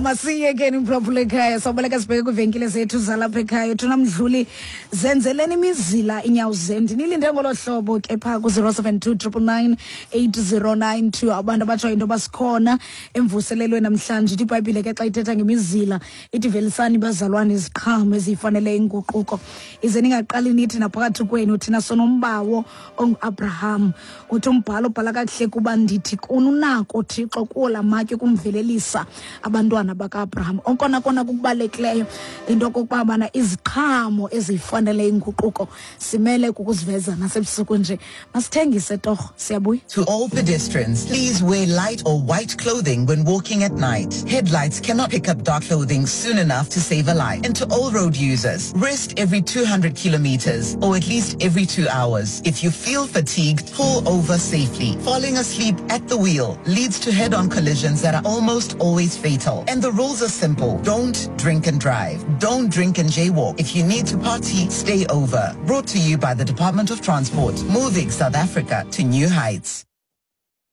Masiyekeni mphulaphula ekhaya, sawubaleka sibheke kwiivenkile zethu zalapha ekhaya. Thuna mdluli, zenzeleni imizila inyawo zenu. Ndinilinde ngolo hlobo ke phaa ku-072 999 8092. Abantu abatsho into yoba sikhona emvuselelweni namhlanje. Ithi iBhayibhile ke xa ithetha ngemizila ithi velisani bazalwane iziqhamo eziyifanele inguquko, ize ningaqali nithi naphakathi kwenu thina sonombawo onguAbraham. Uthi umbhalo ubhala kakuhle kuba ndithi kuni unako Thixo kuwo la matye ukumvelelisa abantwana baka-Abraham. Okona kona kukubalulekileyo into okokuba bana iziqhamo eziyifanele inguquko simele kukuziveza nasebusuku nje. Masithengise torho, siyabuya. To all pedestrians, please wear light or white clothing when walking at night. Headlights cannot pick up dark clothing soon enough to save a life. And to all road users, rest every 200 kilometers or at least every 2 hours. If you feel fatigued, pull over safely. Falling asleep at the wheel leads to head-on collisions that are almost always fatal. And the rules are simple. Don't drink and drive. Don't drink and jaywalk. If you need to party, stay over. Brought to you by the Department of Transport, moving South Africa to new heights.